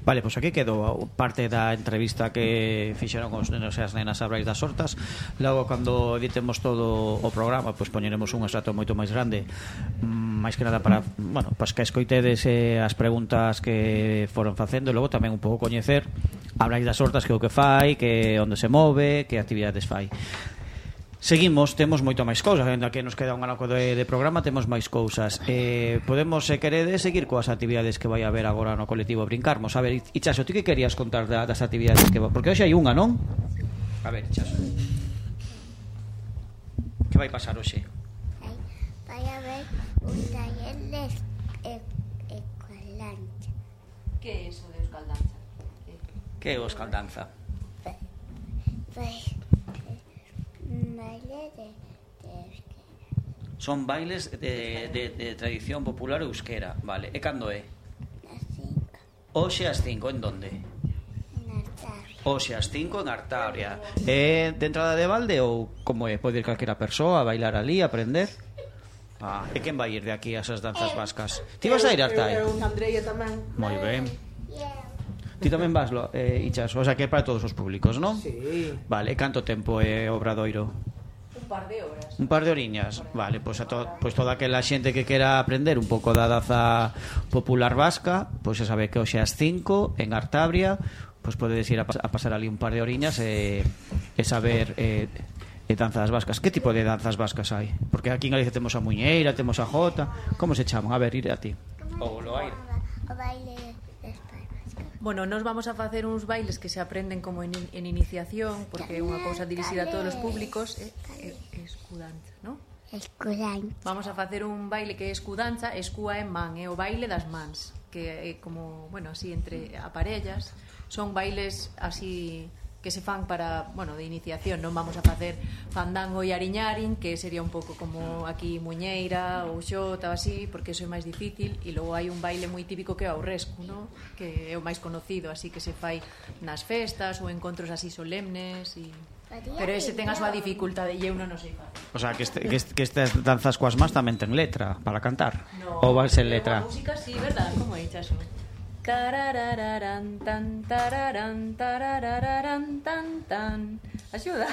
Vale, pois aquí quedou parte da entrevista que fixeron os nenos e as nenas a Brais das Hortas. Logo, cando editemos todo o programa, pois poñeremos un extracto moito máis grande, máis que nada para, bueno, pois que escoitedes as preguntas que foron facendo, e logo tamén un pouco coñecer a Brais das Hortas, que é o que fai, que onde se move, que actividades fai. Seguimos, temos moito máis cousas, ainda que nos queda un anaco de programa, temos máis cousas. Podemos, se queredes, seguir coas actividades que vai haber agora no colectivo Brincarmos. A ver, Ichaso, ti que querías contar das actividades que porque hoxe hai unha, non? A ver, Ichaso, que vai pasar hoxe? Vai haber un taller de escaldanza. Que é iso de escaldanza? Que é o escaldanza? Baile de euskera. Son bailes de tradición popular euskera, vale. E cando é? As 5 Hoxe ás 5, en donde? en Artabria. Hoxe ás 5 en Artabria. É de entrada de balde ou como é? Pode ir calquera persoa a bailar ali, a aprender? E quen vai ir de aquí a esas danzas vascas? Ti vas a ir a Artai? Eu, Andreia tamén. Moi ben. Ti tamén vas, Ichaso? O sea, que é para todos os públicos, non? Sí. Vale, canto tempo é o Obradoiro? Un par de horas. Un par de oriñas, vale, pois toda aquela xente que quera aprender un pouco da danza popular vasca, pois se sabe que hoxe ás 5 en Artabria, pois podedes ir a pasar ali un par de oriñas e saber danzas vascas. Que tipo de danzas vascas hai? Porque aquí en Galicia temos a muñeira, temos a jota, como se chaman? A ver, ir a ti. O baile das palmas. Bueno, nos vamos a facer uns bailes que se aprenden como en iniciación, porque é unha cousa dirixida a todos os públicos. Escudanza, non? Escudanza. Vamos a facer un baile que é escudanza, escúa en man, é o baile das mans, que é como, bueno, así entre aparellas. Son bailes así que se fan para, bueno, de iniciación. Non vamos a facer fandango e ariñarin, que sería un pouco como aquí muñeira ou xota ou así, porque eso é máis difícil. E logo hai un baile moi típico que é o rescu, ¿no? Que é o máis conocido, así que se fai nas festas ou encontros así solemnes e... Pero ese ten a súa dificultade e eu non o sei facer. O sea, que estas danzas coas más tamén ten letra para cantar? No, ou vai ser letra? A música sí, verdad? Como é, Chaso? Cararararán, tan, tararán, tarararán, tan, tan. Axuda.